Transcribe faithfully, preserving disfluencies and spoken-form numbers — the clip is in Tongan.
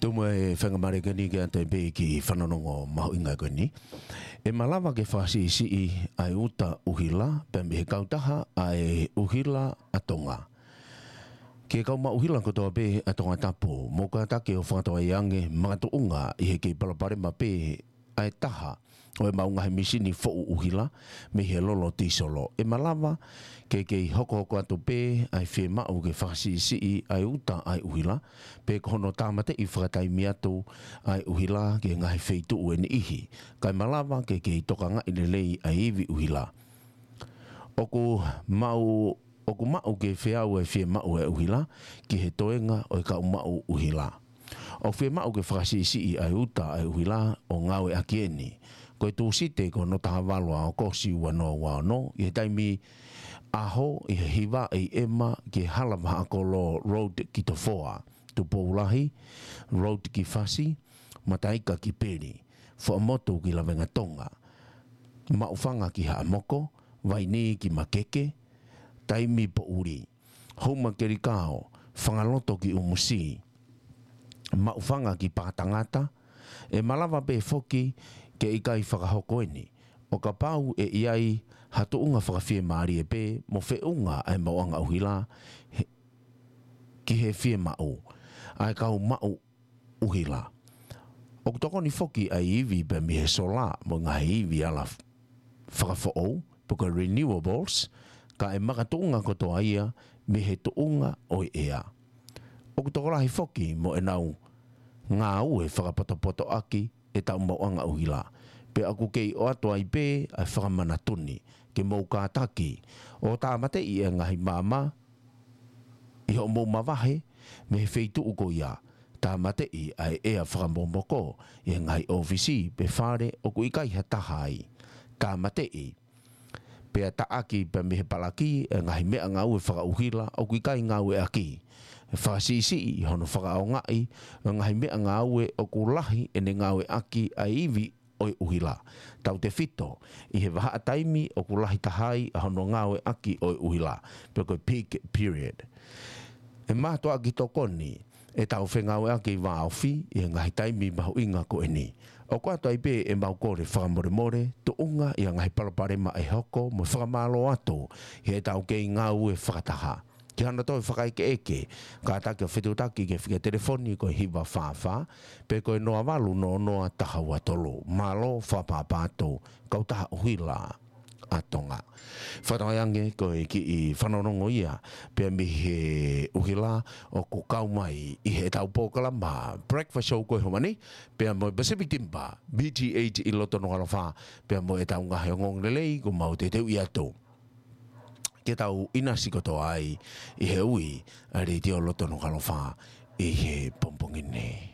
Tuku muʻa e faingamālie ko eni ke ʻoatu pē e kiʻi fanongo mahuʻinga ko eni. ʻE malava ke fakasiʻisiʻi ʻa e uta ʻuhila, pea mei he kautaha ʻa e ʻuhila ʻa Tonga. Ki he kau maʻu ʻuhila kotoa pē ʻa Tongatapu, mou kātaki ʻo fakatokangaʻi ange makatuʻunga ʻi he kei palopalema pē ʻa e taha ʻo ʻemau ngaahi mīsini foʻu ʻuhila mei he lolo tīsolo. ʻE malava ke kei hokohoko atu pē ʻa e fiemaʻu ke fakasiʻisiʻi ʻa e uta ʻa e ʻuhila, pe ko hono tāmateʻi fakataimi atu ʻa e ʻuhila ki he ngaahi feituʻu ʻe niʻihi, kae malava ke kei tokangaʻi lelei ʻa e ivi ʻuhila. ʻOku maʻu, ʻoku maʻu ke feau e fiemaʻu ʻa e ʻuhila ki he toenga ʻo e kau maʻu ʻuhila. ʻOku fiemaʻu ke fakasiʻisiʻi ʻa e uta ʻa e ʻuhila ʻo ngāueʻaki eni. Ko e Tūsite ko hono taha valu ʻa ʻAokosi ua noa ua ono, ʻi he taimi ʻaho ʻi he hiva ʻi ʻEma ki he Hala Vahaʻakolo Road ki Tofoa, Tupou Lahi Road ki Fasi, Mataika ki Peli, Fuaʻamotu ki Lavengatonga, Maʻufanga ki Haʻamoko, Vaini ki Makeke, Taimi Poʻuli, Houmakelikao, Fangaloto ki ʻUmusi, Maʻufanga ki Pātangata. ʻE malava pē foki ke ʻikai fakahoko eni ʻo kapau ʻe ʻi ai ha tuʻunga fakafiemālie pē mo feʻunga ʻa e maʻuʻanga ʻuhila he, ki he fiemaʻu ʻa e kau maʻu ʻuhila. ʻOku tokoni foki ʻa e ivi pea mei he sola mo e ngaahi ivi ala f-, fakafoʻou, pe ko e renewables, ka ʻe makatuʻunga kotoa ia mei he tuʻunga ʻo e ʻea. ʻOku tokolahi foki mo ʻenau ngāue fakapotopotoʻaki ʻetau maʻuʻanga ʻuhila. Pea ʻoku kei ʻoatu ai pē ʻa e fakamanatu ni ke mou kātaki ʻo tāmateʻi e ngaahi maama ʻi hoʻomou mavahe mei he feituʻu ko ia. Tāmateʻi ʻa e ʻea fakamomoko ʻi he ngaahi ʻōfisi pe fale ʻoku ʻikai ha taha ai. Tāmateʻi pea taʻaki pea mei he palaki e ngaahi meʻangāue fakaʻuhila ʻoku ʻikai ngāueʻaki. Fakasiʻisiʻi hono fakaʻaongaʻi e ngaahi meʻangāue ʻoku lahi ʻene ngāueʻaki ʻa e ivi ʻo e ʻuhila, tautefito ʻi he vahaʻa taimi ʻoku lahi taha ai ʻa hono ngāueʻaki ʻo e ʻuhila, pe ko e peak period. ʻE mātuʻaki tokoni ʻetau fengāueʻaki vāofi ʻi he ngaahi taimi mahuʻinga ko eni. ʻOku ʻoatu ai pē ʻemau kole fakamolemole tuʻunga ʻi he ngaahi palopalema ʻe hoko mo e fakamālō atu ʻi heʻetau kei ngāue fakataha. Ki hano toe fakaʻekeʻeke, kātaki ʻo fetuʻutaki ki he fika telefoni ko e hiva fā fā, pe ko e noa valu noa noa taha ua tolu. Mālō fakaʻapaʻapa atu, kautaha ʻuhila ʻa Tonga. Fakatauange ko e kiʻi fanongonongo ia, pea mei he ʻuhila ʻoku kau mai ʻi heʻetau polokalama Breakfast Show ko e homa ni, pea mo e Pacific Timber, B T H ʻi loto Nukuʻalofa, pea mo ʻetau ngaahi ongoongolelei kuo mau teuteuʻi atu ke tau ʻinasi kotoa ai ʻi he ui ʻa e Letiō loto Nukuʻalofa ʻi he pongipongi ni.